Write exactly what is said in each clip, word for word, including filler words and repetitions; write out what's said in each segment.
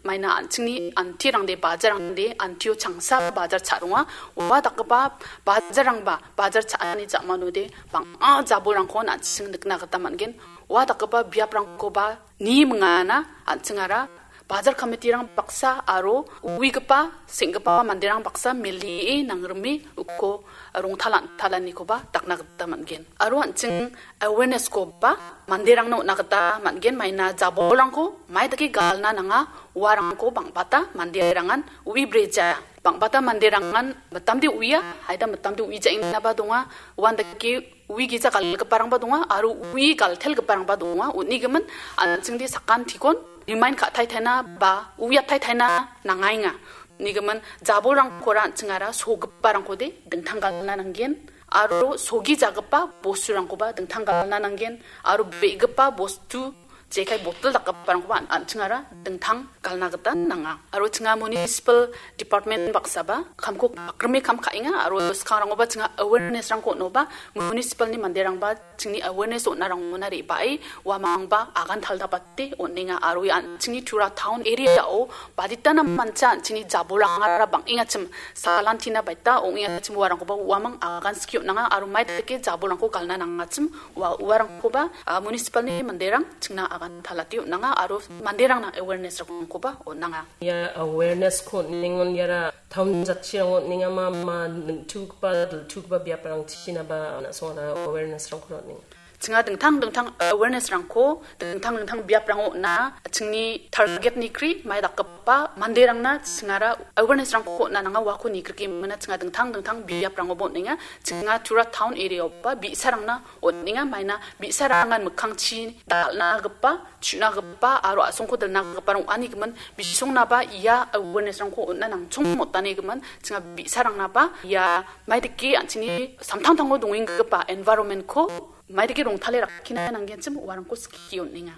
maina an·chingni antirangde, bajarangde, antio changsa bajar cha·ronga. Ua dakgipa bajarrangba, bajar cha·ani ja·manode bang·a jabolrangko an·ching nikna gita man·gen. Ua dakgipa biaprangkoba ni mingana an·chingara bajar kamitirang baksa aro uigipa, seng·gipa manderang baksa melie nangrime uko rongtalan-, talanikoba dakna gita man·gen. Aro an·ching awareness-koba manderangna on·na gita man·gen, maina jabolrangko mai dake galna nanga, uarangko bang·bata manderangan ui breja. Bang·bata manderangan mitamde uia, haida mitamde uijaengnaba donga, uandake ui gija galgiparangba donga, aro ui galtelgiparangba donga. Unigimin an·chingde sakantikon remind ka·taitaina ba uiataitaina nangaenga. Unigimin jabolrangkora an·chingara sogiparangkode dingtang galna nanggen, aro sogijagipa bosturangkoba dingtang galna nanggen, aro be·gipa bostu jekai botel dakgiparangkoba an-, an·chingara dingtang galna gita nanga. Aro chinga municipal department baksaba kamko bakrime kam ka·enga, aro skangrangoba chinga awareness-rangko on·oba municipal-ni manderangba chingni awareness on·arangona re·bae uamangba agan taldapate on·enga, aro ia an-, chingni Tura town area-o baditana mancha an·chingni jabolrangara bang·engachim, salantina baita ong·engachim uarangkoba uamang agan skie on·anga, aro mai dake jabolrangko galna nangachim ua-, uarangkoba, ah, municipal-ni manderang chingna agan talate on·anga aro manderangna awareness-rangkoba on·anga. Ia awareness-ko on·engon iara town jatchirang on·enga ma, ma ningtugipa, diltugipa biaprangchinaba na·songara awareness-rangko on·enga. Chinga dingtang dingtang awareness-rangko dingtang dingtang biaprango on·a, chingni target-ni kri mai dakgipa manderangna chingara awareness-rangko on·a nanga uako nigrikemina chinga dingtang dingtang biaprangoba on·enga. Chinga Tura town area-oba bi·sarangna on·enga, maina bi·sarangan mikkangchi dal·nagipa, chu·nagipa aro a·songko dilnagiparang ong·ani gimin bisongnaba ia awareness-rangko on·na nangchong motani gimin chinga bi·sarangnaba ia maidake an·chingni samtangtango dongenggipa environment-ko maidake rongtale rakkina nanggenchim uarangko skie on·enga.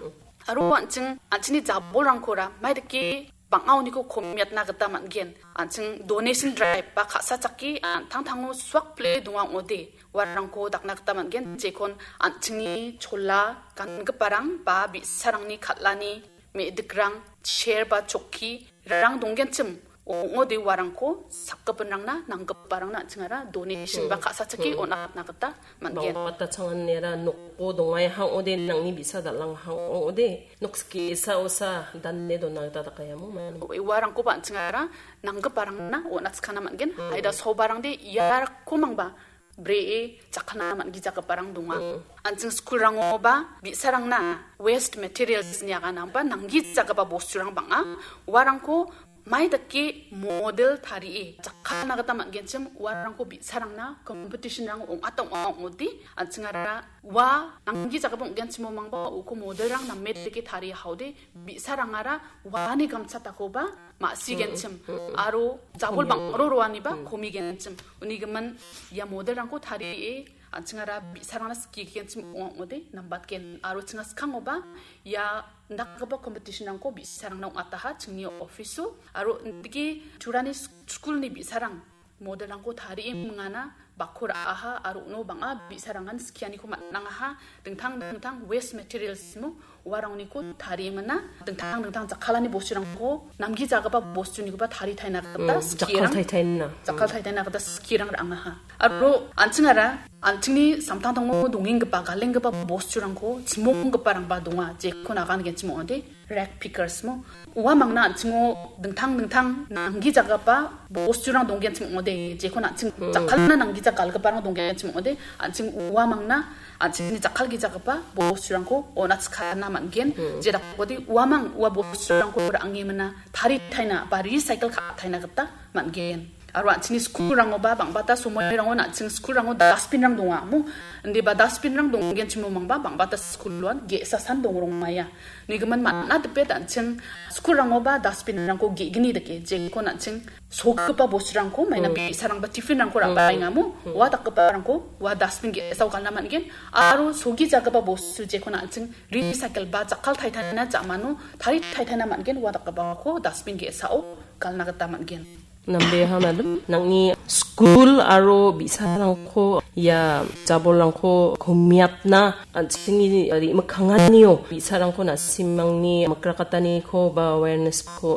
Aro an·ching, an·chingni jabolrangkora maidake bang·a oniko komiatna gita man·gen. An·ching donation drive ba ka·sachake an·tangtango suakpile donga ong·ode uarangko dakna gita man·gen. Jekon an·chingni chola gangiparang ba bi·sarangni kal·ani me·dikrang, chair ba chokki rang donggenchim ong·ode uarangko sakgipinrangna nanggiparangna an·chingara donation ba ka·sachake on·atna gita man·gen. Bang·bata changanera nokko dongai hang ong·ode nangni bi·sa dal·ang hang ong·ode nok skie sa osa dane dona gita dakayamo mani. Uarangkoba an·chingara nanggiparangna on·atskana man·gen. Haida sobarangde iarako mangba bree jakkalna man·gijagiparang donga. An·ching skulrangoba bi·sarangna waste materials-ni aganangba nanggijagipa bosturang bang·a. Uarangko mai dake model tarie jakkalna gita man·genchim uarangko bi·sarangna competition-rango ong·ata ong·a ong·ode an·chingara ua nanggijagipa ong·genchimo mangba uko model-rang name dake tarie haode bi·sarangara uani gamchatakoba ma·sigenchim aro jabol bang·ro roaniba komigenchim. Unigimin ia model-rangko tarie an·chingara bi·sarangna skigenchim ong·ode nambatgen aro chinga skangoba ia indakgipa competition-rangko bi·sarangna ong·ataha chingni office-o aro indake Turani sk-, skulni bi·sarang model-rangko tarie mingana bakko ra·aha aro uno bang·a bi·sarangan skianiko man·angaha. Dingtang dingtang waste materials-mo uarangniko tarie mina. Dingtang dingtang jakkalani bosturangko namgijagipa bostunikoba taritaina gita skirang, jakkaltaitaina. Jakkaltaitaina gita skirang ra·angaha. Aro an·chingara an·chingni samtangtango dongenggipa, galenggipa bosturangko chimonggiparangba donga, jekon agangenchim ong·ode rack pickers-mo. Ua mangna an·chingo dingtang dingtang nanggijagipa bosturang donggenchim ong·ode, jekon an·ching jakkalna nanggija galgiparang donggenchim ong·ode, an·ching ua mangna an·chingni jakkalgijagipa bosturangko on·atskana man·gen. Jedakode uamang ua bosturangko ra·angemina taritaina ba recycle ka·taina gita man·gen. Aro an·chingni skulrangoba bang·bata somoirangon an·ching skulrango dustbin-rang donga, mo? Indiba dustbin-rang donggenchimo mangba bang·bata skuloan ge·sa san dongrongmaia. Nigimin man·a dipet an·ching skulrangoba dustbin-rangko ge·gni dake, jekon an·ching sogipa bosturangko maina bi·sarangba tiffin-rangko ra·baenga, mo? Ua dakgiparangko ua dustbin ge·sao galna man·gen. Aro sogijagipa bostu jekon an·ching recycle ba jakkaltaitaina ja·mano taritaitaina man·gen, ua dakgipako dustbin ge·sao galna gita man·gen. Nambeha madam, nangni skul aro bi·sarangko ia jabolrangko komiatna an·chingni re·mikkanganio bi·sarangko na·simangni mikrakataniko ba awareness-ko